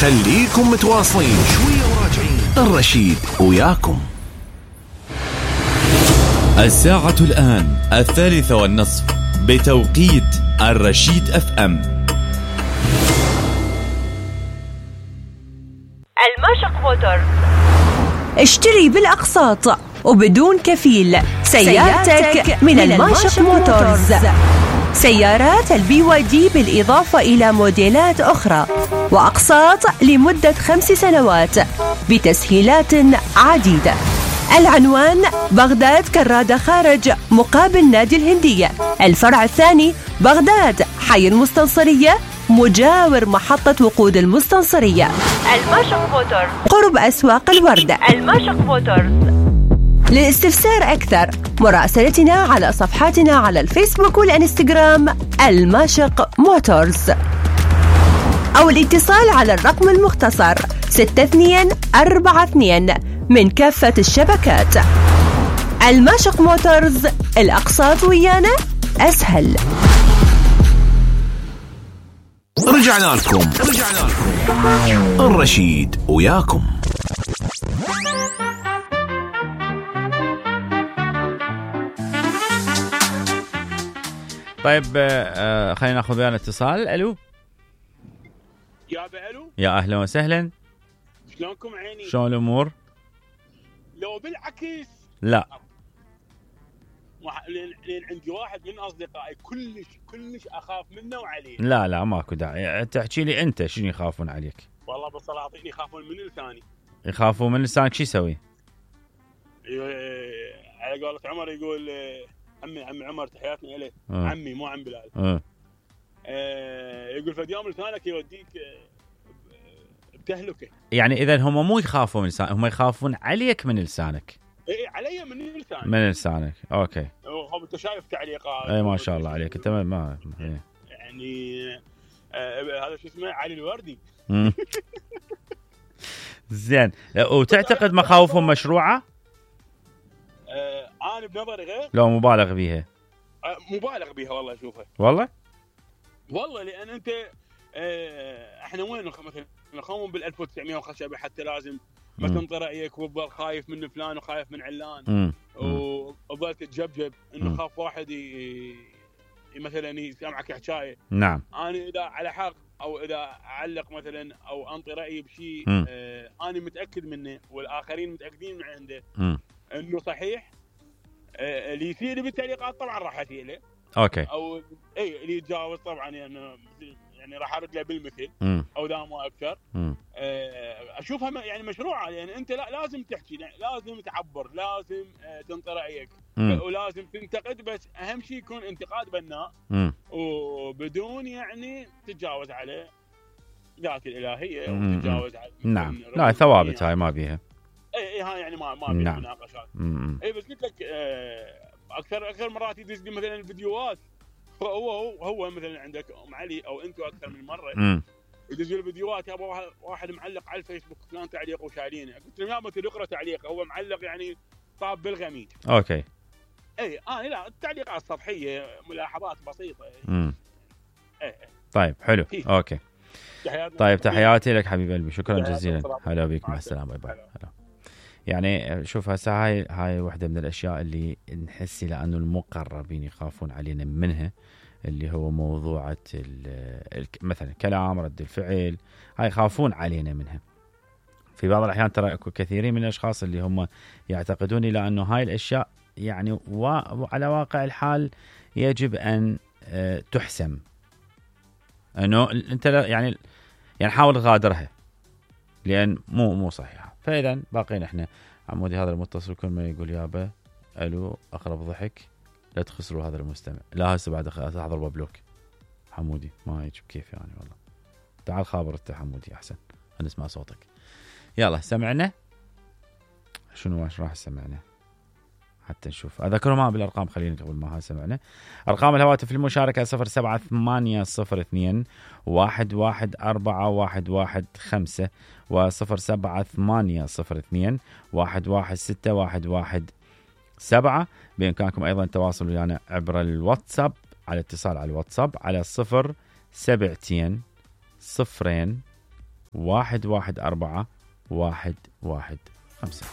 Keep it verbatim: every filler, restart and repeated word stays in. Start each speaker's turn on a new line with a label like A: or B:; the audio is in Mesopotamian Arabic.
A: خليكم متواصلين شوية وراجعين. الرشيد وياكم.
B: الساعة الآن الثالثة والنصف بتوقيت الرشيد اف ام.
C: الماشق موتورز. اشتري بالأقساط وبدون كفيل سيارتك من الماشق موتورز. سيارات البي واي دي بالإضافة إلى موديلات أخرى وأقساط لمدة خمس سنوات بتسهيلات عديدة. العنوان بغداد كرادة خارج مقابل نادي الهندية. الفرع الثاني بغداد حي المستنصرية مجاور محطة وقود المستنصرية. الماشق موتورز قرب أسواق الوردة. الماشق موتورز. للاستفسار أكثر مراسلتنا على صفحاتنا على الفيسبوك والإنستغرام الماشق موتورز أو الاتصال على الرقم المختصر ستة اثنين أربعة اثنين من كافة الشبكات. الماشق موتورز، الأقساط ويانا أسهل.
A: رجعنا لكم رجعنا لكم الرشيد وياكم.
D: طيب آه خلينا ناخذ ويانا اتصال. الو
E: يا بألو،
D: يا اهلا وسهلا.
E: شلونكم عيني؟
D: شلون الامور؟
E: لو بالعكس
D: لا
E: لين لين عندي واحد من اصدقائي كلش كلش اخاف منه وعليه.
D: لا لا ماكو داعي تحكي لي انت شنو يخافون عليك.
E: والله بالسلاطين يخافون من لساني.
D: يخافون من لسانك شو يسوي؟
E: على قولة عمر يقول عمي عمي عمر تحياتنا اليه.
D: أه.
E: عمي مو عم بلال.
D: أه.
E: أه يقول فد يوم لسانك يوديك بتهلكه.
D: يعني اذا هم مو يخافون من لسانك، هم يخافون عليك من لسانك.
E: اي علي من لسانك.
D: من لسانك اوكي.
E: هو انت شايف تعليقات.
D: اي ما شاء الله عليك انت ما
E: يعني آه هذا شو اسمه علي الوردي.
D: زين، وتعتقد مخاوفهم مشروعه؟
E: آه انا بنظري غير.
D: لو مبالغ بيها.
E: آه مبالغ بيها والله اشوفها.
D: والله؟
E: والله لان انت آه احنا وين مثلا نخوم بال ألف وتسعمية وخشبه حتى لازم ما تنطي رايك وتظل خايف من فلان وخايف من علان وظل تتجبجب انه خاف واحد ي... مثلا يسمعك حكايه.
D: نعم.
E: انا اذا على حق او اذا اعلق مثلا او انطي رايي بشيء آه انا متاكد منه والاخرين متاكدين من عنده م. انه صحيح. آه اللي يصير بالتعليقات طبعا راح اسيله.
D: اوكي.
E: او اي اللي يتجاوز طبعا يعني يعني راح ارد له بالمثل
D: م.
E: او لا مو اكثر.
D: م.
E: اشوفها يعني مشروعه يعني انت لا لازم تحكي لازم تعبر لازم تنطي رايك
D: م.
E: ولازم تنتقد بس اهم شيء يكون انتقاد بناء
D: م.
E: وبدون يعني تتجاوز على ذات الالهيه وتتجاوز على.
D: نعم لا ثوابت هاي ما بيها.
E: اي اي هاي يعني ما ما بيها
D: نعم.
E: مناقشات. اي بس قلت لك اكثر اكثر مرات يدز لي مثلا الفيديوهات هو هو هو مثلا عندك ام علي او انتم اكثر من مره
D: م.
E: يدزوا الفيديوهات يا ابو واحد معلق على الفيسبوك فلان تعليق وشايلينه. قلت له يا ابو تقرا تعليق هو معلق يعني طاب بالغميد.
D: اوكي.
E: اي انا آه لا التعليقات سطحيه ملاحظات بسيطه.
D: امم
E: اي
D: طيب حلو فيه. اوكي طيب تحياتي لك حبيب قلبي شكرا جزيلا. هلا بيك مع السلامه باي باي. هلا. يعني شوف هسه هاي هاي واحده من الاشياء اللي نحس لانه المقربين يخافون علينا منها اللي هو موضوعة مثلا كلام رد الفعل هاي يخافون علينا منها. في بعض الأحيان ترى أكو كثيرين من الأشخاص اللي هم يعتقدون إلى أنه هاي الأشياء يعني وعلى واقع الحال يجب أن تحسم أنه أنت يعني يعني حاول تغادرها لأن مو مو صحيحة. فإذا باقين إحنا عمودي هذا المتصل كل ما يقول يابا ألو أقرب ضحك لا تخسروا هذا المستمع. لا هسه بعد احضر ببلوك حمودي ما يجيب كيف يعني والله. تعال خابر انت حمودي احسن نسمع صوتك. يلا سمعنا شنو واش راح سمعنا حتى نشوف. اذكروا ما بالارقام خلينا قبل ما ها سمعنا. ارقام الهواتف للمشاركه صفر سبعة ثمانية صفر اثنين واحد واحد أربعة واحد واحد خمسة وصفر سبعة ثمانية صفر اثنين واحد واحد ستة واحد واحد سبعة. بإمكانكم أيضا التواصل ويانا عبر الواتساب على اتصال على الواتساب على صفر سبعتين صفرين واحد واحد أربعة واحد واحد خمسة.